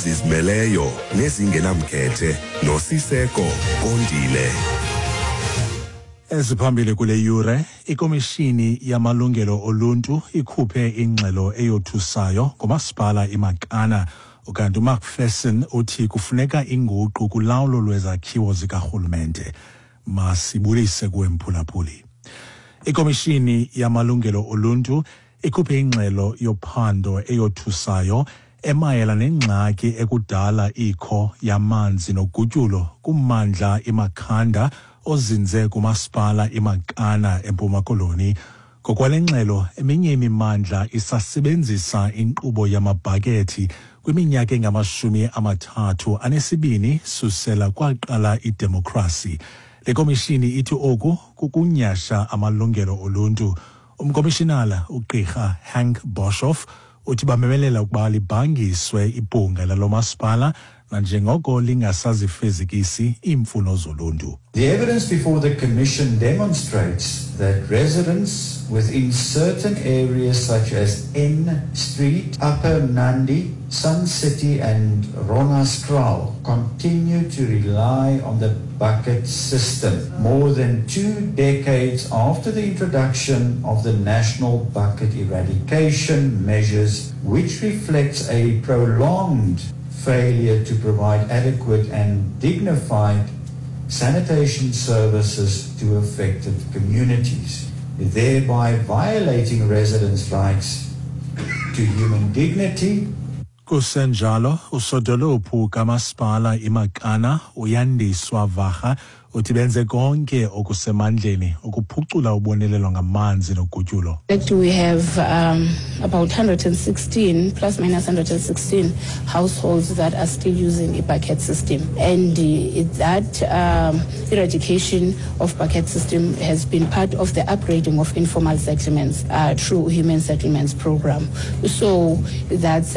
Ezizimeleyo nezingenamkhethe noSiseko Kondile. Eziphambili kule yure, iKomishini yaMalungelo Oluntu ikhuphe ingxelo eyothusayo ngomasipala iMakana. Ukanti uMacpherson uthi kufuneka inguqu kulawulo lwezakhiwo zikarhulumente. Masibulise kuwe mphulaphuli. Ikomishini yamalungelo oluntu ikhuphe ingxelo yophando eyothusayo emayela nengxaki ekudala ikho yamanzi nogutyulo kummandla iMakhanda ozinze kumasipala iMakana eMpuma Koloni. Ngokwale ngxelo, eminye imimandla isasebenzisa inkqubo yamabhakethi kwiminyaka engamashumi 32 susela kwaqala idemokhrasi. Le komishini ithi oku kukunyasha amalungelo oluntu. Umkomishinala uGqirha Hank Boshoff uthi bamemelela ukuba libhangiswe ibhunga lalo masipala nanjengoko lingasazifezekisi iimfuno zoluntu. The evidence before the Commission demonstrates that residents within certain areas such as N Street, Upper Nandi, Sun City and Ronaskraal continue to rely on the bucket system more than 2 decades after the introduction of the national bucket eradication measures, which reflects a prolonged failure to provide adequate and dignified sanitation services to affected communities, thereby violating residents' rights to human dignity. Kusenjalo, usodolophu kamasipala iMakana uYandiswa Varha uthi benze konke okusemandleni ukuphucula ubonelelo ngamanzi nogutyulo. We have about 116, plus minus 116 households that are still using a bucket system. And that eradication of bucket system has been part of the upgrading of informal settlements through Human Settlements Program. So that's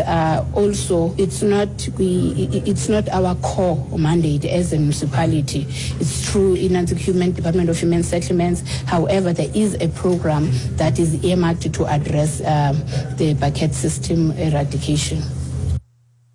also, it's not our core mandate as a municipality. It's true in the Human Department of Human Settlements. However, there is a program that is earmarked to address the bucket system eradication.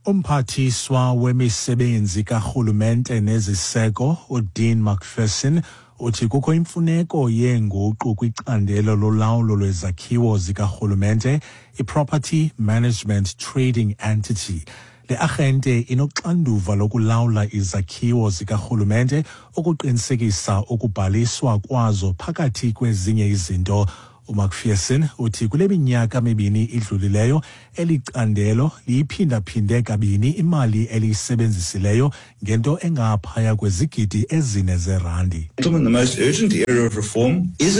Umphathiswa wemisebenzi karhulumente neziseko uDean Macpherson uthi kukho imfuneko yeenguqu kwicandelo lolawulo lwezakhiwo zikarhulumente, i-Property Management Trading Entity. Le arhente inoxanduva lokulawula izakhiwo zikarhulumente ukuqinisekisa ukubhaliswa kwazo phakathi kwezinye izinto. UMacpherson uthi kule minyaka mibini idlulileyo eli candelo liyiphindaphinde kabini imali eliyisebenzisileyo ngento engaphaya kwezigidi 4 zerandi. Gentlemen, the most urgent area of reform is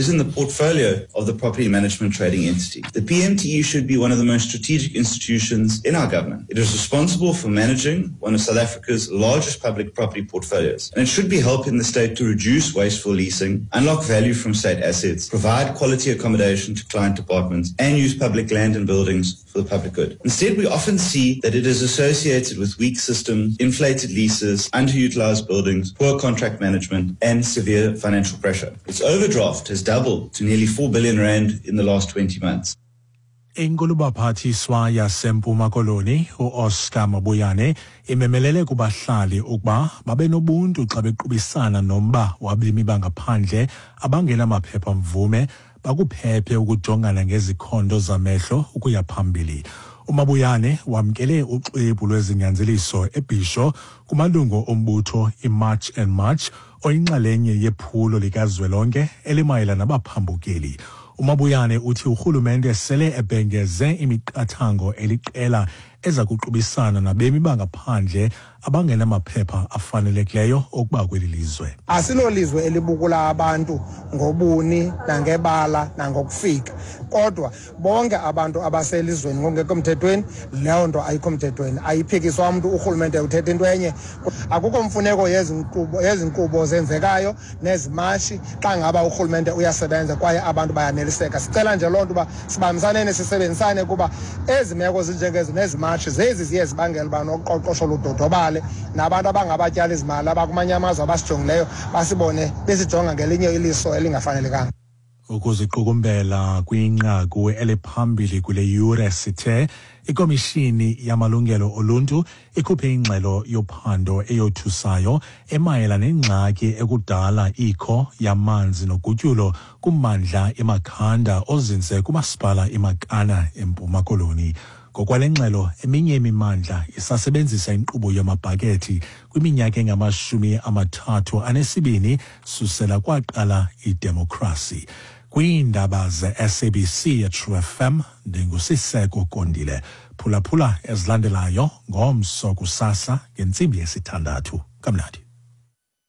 in the portfolio of the Property Management Trading Entity. The PMTE should be one of the most strategic institutions in our government. It is responsible for managing one of South Africa's largest public property portfolios, and it should be helping the state to reduce wasteful leasing, unlock value from state assets, provide quality accommodation to client departments, and use public land and buildings for the public good. Instead, we often see that it is associated with weak systems, inflated leases, underutilized buildings, poor contract management, and severe financial pressure. Its overdraft has doubled to nearly 4 billion rand in the last 20 months. Inkulubaphathiswa yaseMpuma Koloni uOscar Mabuyane imemelele kubahlali ukuba babe nobuntu xa bequbisana nomba wabemi bangaphandle abangenamaphepha mvume, bakuphephe ukujongana ngezikhondo zamehlo ukuya phambili. UMabuyane wamkele uxwebhu lwezinyanzeliso eBhisho kumalungu ombutho iMarch and March oyinxalenye yephulo likazwelonke elimayelana nabaphambukeli. UMabuyane uthi urhulumente sele ebhengeze imiqathango eliqela eza kuqubisana nabemi bangaphandle abangenamaphepha afanelekileyo okuba kweli lizwe. Asilolizwe elibukula abantu ngobuni nangebala nangokufika, kodwa bonke abantu abaselizweni ngokungekho mthethweni, leyo nto ayikho mthethweni, ayiphikiswa mntu. Urhulumente uthetha into enye. Akukho mfuneko yezinkqubo zenzekayo nezimashi xa ngaba urhulumente uyasebenza kwaye abantu bayaneliseka. Sicela nje loo nto uba sibambisaneni, sisebenzisane, kuba ezi meko zinjengezi nezimashi zezi ziye zibangela uba noqoqosho ludodobale, nabantu abangabatyala izimali abakumanye amazwe abasijongileyo basibone besijonga ngelinye iliso elingafanelekanga. Ukuziqukumbela kwinqaku eliphambili kule yure sithe Ikomishini yamalungelo oluntu ikhuphe ingxelo yophando eyothusayo emayela nengxaki ekudala ikho yamanzi nogutyulo kummandla iMakhanda ozinze kumasipala iMakana eMpuma Koloni. Ngokwale ngxelo, eminye imimandla isasebenzisa inkqubo yamabhakethi kwiminyaka engama-32 susela kwaqala idemokhrasi. Kwiindaba ze-SABC eTrue FM, ndinguSiseko Kondile. Phulaphula ezilandelayo ngomso kusasa ngentsimbi yesithandathu. Kamnandi.